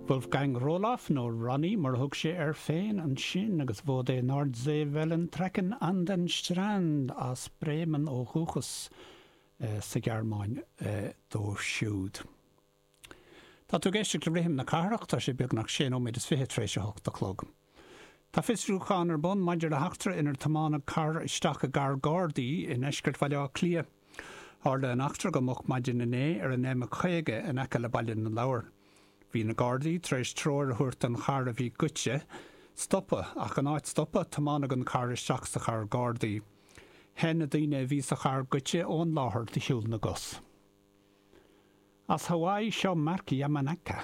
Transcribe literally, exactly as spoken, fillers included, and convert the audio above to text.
Wolfgang Roloff nó Ronnie mar a thug sé air féin ansin agus Wo die Nordseewellen trecken an den Strand as Bremen ó dhúchas eh, sa Ghearmáin eh, dó siúd. Tá tú ag éisteacht le Rithim na Cathrach tá sé beagnach sé nóiméad is fiche tar éis a hocht a chlog. Tá fiosrúchán ar bun maidir le heachtra inar tiomáineadh carr isteach i gcarr Gardaí i ndeisceart Bhaile Átha Cliath. Tharla an eachtra go moch maidin inné ar an M caoga in aice le Baile na Lobhar. Bhí na Gardaí tar éis treoir a thabhairt don charr a bhí goidte, stopadh ach in áit stopadh tiomáineadh an carr isteach sa charr Gardaí. Theith na daoine a bhí sa charr goidte ón láthair de shiúl na gcos. As Hawaii seo Mark Yamanaka.